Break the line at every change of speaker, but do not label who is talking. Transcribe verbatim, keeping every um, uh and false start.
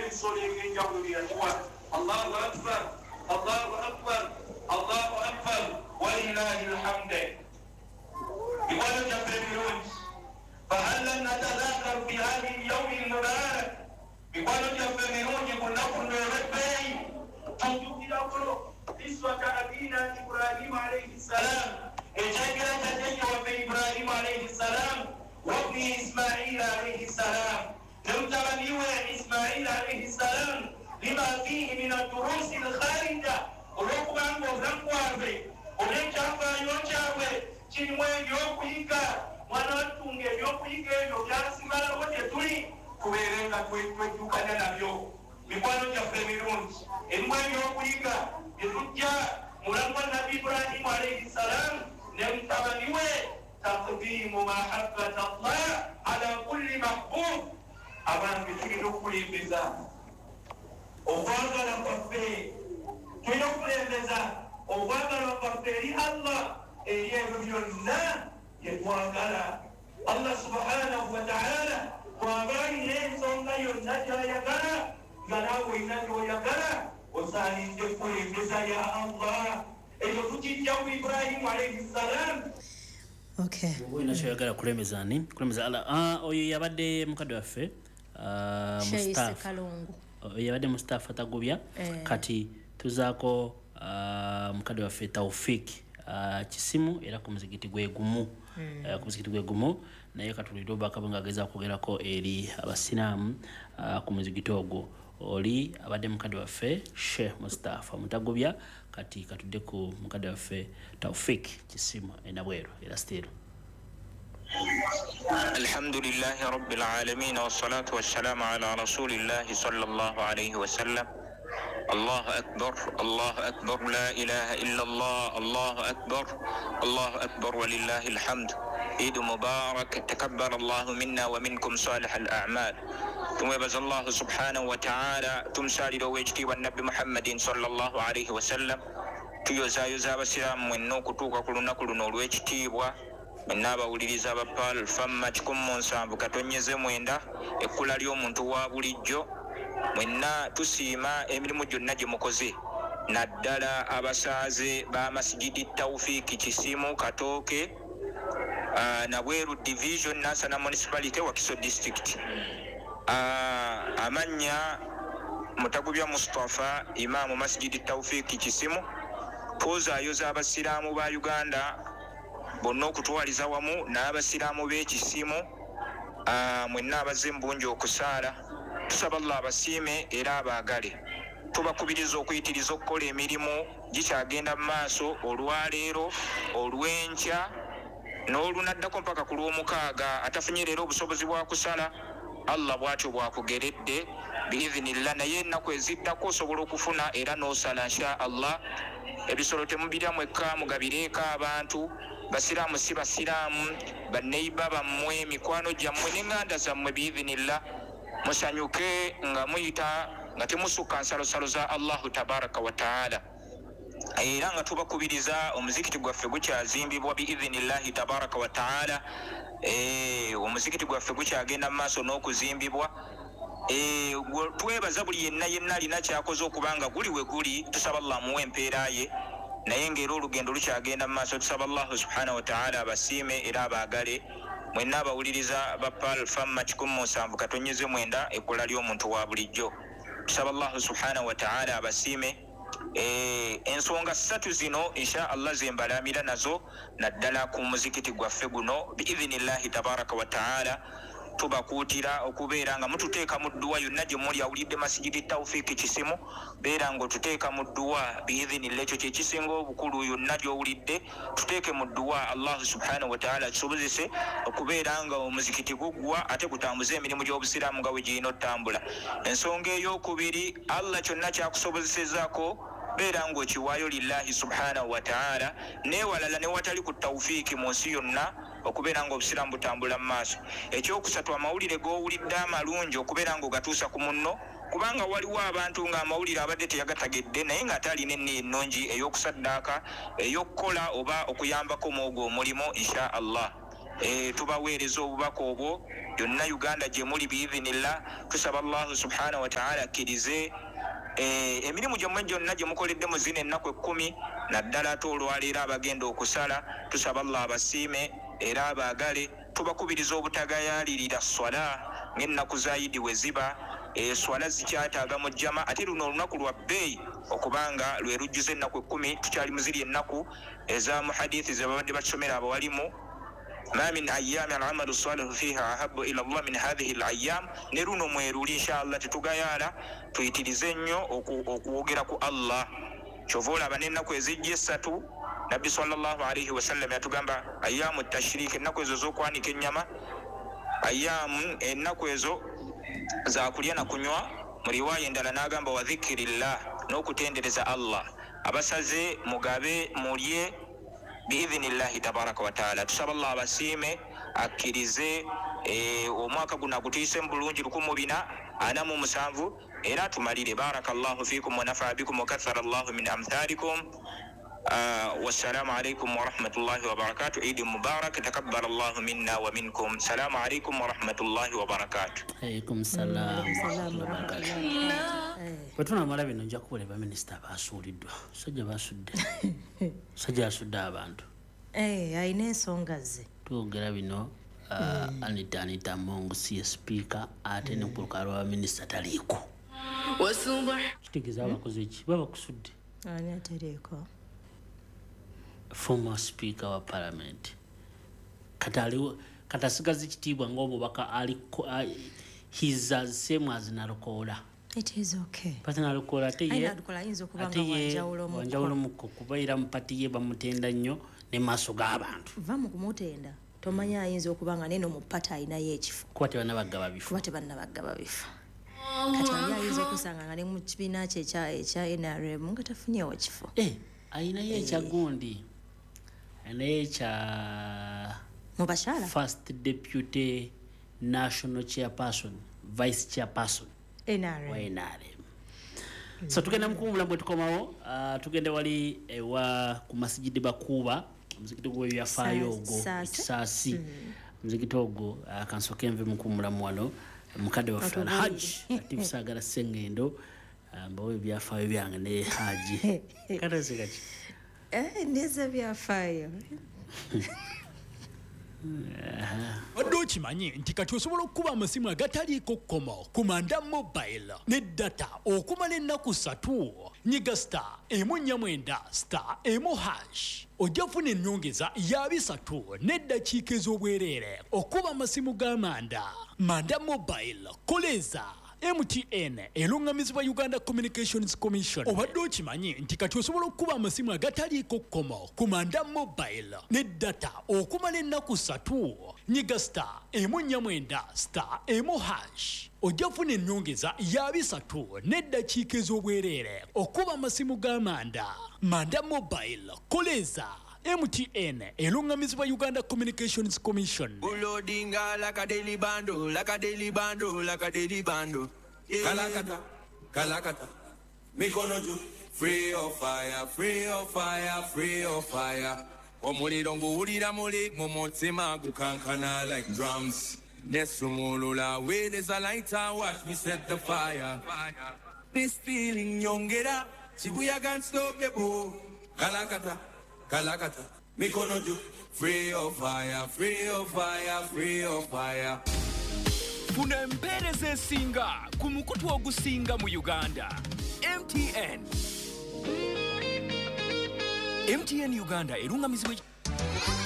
N'ebisolo ebyenjawulo byeyatuwa. Allahu akbar, Allahu akbar, Allahu akbar, walillahi lhamde. Mikwano gyaffe ebirungi, fahal lam natadhakaru fi hadhihi lyaumi lmubarak. Mikwano gyaffe emirungi, ku nnaku luno olw'ebbeeyi tujjukirako kiswata abina Ibrahimu alaihi ssalam, ekyengera kya jjajja waffe Ibrahimu alaihi ssalam, wabni Ismaila alaihi ssalam, ne mutabani we Ismaila alaihi ssalam, lima fihi min addurusi lkharija, olw'okubanga obulamu bwabwe olw'ekyafaayo kyabwe kirimu ebyokuyiga. Mwana wattunga ebyokuyiga ebyo byasigalawo gye tuli, tubeere nga twejjukanya nabyo. Mikwano gyaffe emirungi, erimu ebyokuyiga bye tujja mu bulamu bwa Nabbi Ibrahimu alaihi ssalam ne mutabani we, taqdimu mahabbata Allah ala kulli mahbub. Abange, tulina okukulembeza okwagala kwaffe, tulina okukulembeza okwagala kwaffe eri Allah eri ebyo byonna bye twagala. Allah subhanahu wa taala bw'aba alina ensonga yonna gy'ayagala nga naawe olina gy'oyagala, osaanidde kukulembeza ya Allah. Ekyo tukijja ku Ibrahimu alaihi ssalam.
Okay.
Olina kyoyagala kulemeza ani? Kulemeza Allah. Ah, oyo yabadde mukadde waffe ah,
Sheikh
Mustafa.
Kalungu.
Oyo yabadde Mustafa Tagubya.
Eh.
Kati tuzaako ah, mukadde waffe Taufik ah, Kisimu, era ku muzigiti gwe gumu. Eh, ku muzigiti gwe gumu, naye katulire obubaka bwe ng'agezaako kwogerako eri abasiraamu ah, ku muzigiti ogwo. Oli abadde mukadde waffe Sheikh Mustafa Mutagubya. Kati katudde ku mukadde waffe Taufik Kisimu enabweru era still.
الحمد لله رب العالمين، والصلاة والسلام على رسول الله صلى الله عليه وسلم. الله أكبر، الله أكبر، لا إله إلا الله، الله أكبر، الله أكبر، ولله الحمد. عيد مبارك، تقبل الله منا ومنكم صالح الأعمال. tumwebaza Allah subhanahu wa ta'ala, tumusalira ow'ekitiibwa Nabbi Muhammadin sallallahu alaihi wasallam. Tuyozaayoza abasiraamu mwenna okutuuka ku lunaku luno olw'ekitiibwa. Mwenna abawuliriza aba Pearl Fama kikumi mu nsanvu katonyeze mwenda, ekkula ly'omuntu wa bulijjo, mwenna tusiima emirimu gyonna gye mukoze, naddala abasaaze ba Masigidi Tawfiiki Kisimu Katooke, uh, Nabweru Division, Nansana Municipality, Wakiso District. uh, amannya Mutagubya Mustafa, imaamu Masjidi Tawfiiki Kisimu. Twozaayoza abasiraamu ba Uganda bonna okutwaliza wamu n'abasiraamu b'Ekisimu, uh, mwenna abazze mu bungi okusaala, tusaba Allah abasiime era abaagale. Tubakubiriza okuyitiriza okukola emirimu gikyagenda mu maaso olwaleero, olw'enkya n'olunaddako mpaka ku lw'omukaaga. Atafunye leero obusobozi bwa kusala, Allah bw'atyo bw'akugeredde biidhinillah, naye ennaku eziddako osobola okufuna era n'osala insha Allah. Ebisolo temubirya mwekka, mugabireeko abantu, basiraamu si basiraamu, banneiba bammwe, mikwano gyammwe n'eŋŋanda zammwe biidhinillah. Musanyuke nga muyita nga temusukka nsalosalo za Allahu tabaraka wa taala. Era nga tubakubiriza, omuzikiti gwaffe gukyazimbibwa biidhinillahi tabaraka wa taala. Eh, omuzikiti gwaffe gukyagenda mu maaso n'okuzimbibwa. Eh, twebaza buli yenna yenna alina kyakoze okubanga guli we guli, tusaba Allah amuwe empeera ye, naye ng'era olugendo lukyagenda mu maaso. Tusaba Allahu subhanahu wa taala abasiime era abaagale. Mwenna abawuliriza ba Pearl Fama kikumi mu nsanvu katonyeze mwenda, ekkula ly'omuntu wa bulijjo, tusaba Allahu subhanahu wa taala abasiime. Eh, ensonga ssatu zino insha Allah zembalamira nazo, naddala ku muzikiti gwaffe guno biidhinillahi tabaraka wa taala. Tubakuutira okubeera nga mututeeka mu dduwa yonna gye muli. Awulidde Masigidi Tawfiiki Kisimu, beera ng'otuteeka mu dduwa biidhinillah. Ekyo kye kisinga obukulu. Yonna gy'owulidde tuteeke mu dduwa, Allahu subhanahu wa taala akisobozese okubeera nga omuzikiti guggwa ate gutambuze emirimu gy'obusiraamu nga bwe girina ottambula. Ensonga ey'okubiri, Allah kyonna kyakusobozesezaako beera ng'okiwaayo lillahi subhanahu wa taala, neewalala newatali ku tawfiiki mu nsi yonna okubeera ng'obusiraamu butambula mu maaso. Ekyokusatu, amawulire g'owulidde amalungi okubeera ng'ogatuusa ku munno, kubanga waliwo abantu ng'amawulire abadde teyagategedde, naye ng'ate alina enniya ennungi ey'okusaddaaka, ey'okukola oba okuyambako mu ogwo omulimu insha Allah. E, tubaweereza obubaka obwo yonna Uganda gye muli biidhinillah. Tusaba Allahu subhanahu wa ta'ala akkirize e, emirimu gyammwe gyonna gye mukoledde mu zino ennaku ekkumi, naddala ate olwaleero abagenda okusala. Tusaba Allah abasiime era abaagale. Tubakubiriza obutagayaalirira swala ng'ennaku za Idi we ziba. E, swala zikyataaga mu jjama, ate luno olunaku lwa bbeeyi okubanga lwe lujjuza ennaku ekkumi. Tukyali mu ziri ennaku eza mu hadithi ze babadde batusomera abawalimu, ma min ayami alamalu salihu fiha ahabu ila Allah min hadhihi alayam. Ne luno mweruli inshallah tetugayaala, tuyitirize nnyo okwogera ku Allah. Kyova olaba n'ennaku ezijja essatu Nabbi sallallahu alaihi wasallam yatugamba ayamu tashrik, ennaku ezo z'okwanika ennyama, ayamu ennaku ezo za kulya na kunywa. Mu riwaya endala n'agamba wa dhikirillah, n'okutendereza Allah. Abasaze mugabe mulye biidhinillahi tabaraka wa taala. Tusaba Allah abasiime akkirize e, omwaka guno agutiise mu bulungi lukumi bina ana mu musanvu, era tumalire. Barakallahu fikum wa nafaa bikum wa kathara Allahu min amthalikum. Uh, wassalamu alaikum warahmatullahi wabarakatuh. Idi mubarak, takabbal Allahu minna wa minkum. Salamu alaikum warahmatullahi wabarakatuh.
Alaikum salam wabarakatuh. Bwe tunamala bino nja kuwulira baminisita basuuliddwa. Sajja basudde, sajja asudde abantu.
Eh, alina ensonga ze.
Twogera bino uh, Anita Anita Among si speaker, ate ne ku lukalala lwa baminisita taliiko. Kitegeeza abakoze ki? Baba kusudde.
Ani ateriiko?
Former speaker wa parliament kati aliwo kati asigaza ekitiibwa ng'omubaka aliko, he's as same as Nalukoola.
It is okay.
Pati Nalukoola ate ye
Nalukoola ayinza okuba
ate
nga
ye
wanjawulo mukko.
Wanjawulo mukko kuba era mu pati ye bamutenda nnyo ne maaso g'abantu.
Va mu kumutenda, tomanya ayinza okuba nga neno mu pati alinayo ekifo.
Kuba tebannabagaba bifo.
Kuba tebannabagaba bifo. Kati ali ayinza okusanga nga ne mu kibiina kye ekya ekya N R M nga tafunyeewo kifo.
Eh, alinayo ekya gundi, alinayo ekya
mu bakyala
first deputy national chairperson, vice chairperson
N R M.
Wa N R M. So tugenda mukuwumula bwe tukomawo, uh, tugende wali ewa ku masijidi Bakuba, omuzikiti gw'ebyafaayo ogwo Kisaasi. Omuzikiti ogwo uh, kansooke nve mukuwumulamu wano. Mukadde waffe Alhaji Latif Saagala Ssengendo, uh, mbawe ebyafaayo byange ne Haji. Katazika ki?
Eh, ndeza byafaayo.
Wadde okimanyi nti kati osobola okukuba amasimu agataliiko kkomo ku Manda Mobile ne data okumala ennaku ssatu. Nyiga star emu nnya mwenda star emu hash, ojja kufuna ennyongeza ya bisatu n'eddakiika ez'obwereere okuba amasimu ga Manda. Manda Mobile, koleza M T N erungamizibwa Uganda Communications Commission. Obadde okimanyi nti kati osobola okukuba amasimu agataliiko kkomo ku Manda Mobile ne data okumala ennaku ssatu. Nyiga star emu nnya mwenda star emu hash, ojja kufuna ennyongeza ya bisatu n'eddakiika ez'obwereere okuba amasimu ga Manda. Manda Mobile, koleza M T N erungamizibwa Uganda Communications Commission.
Ulodinga like a daily bando, like a daily bando, like a daily bando. Yeah. Kalakata, kalakata, mikono juu. Free of fire, free of fire, free of fire. Omuliro nguwulira muli mu mutima gukankana like drums. Nesumulula with is a lighter, watch me set the fire. This feeling nyongera, Shibuya can't stop the boo. Kalakata, kalakata, mikono juu. Free of fire, free of fire, free of fire.
Funa empeereza esinga ku mukutu ogusinga mu Uganda. M T N. M T N Uganda erungamizibwa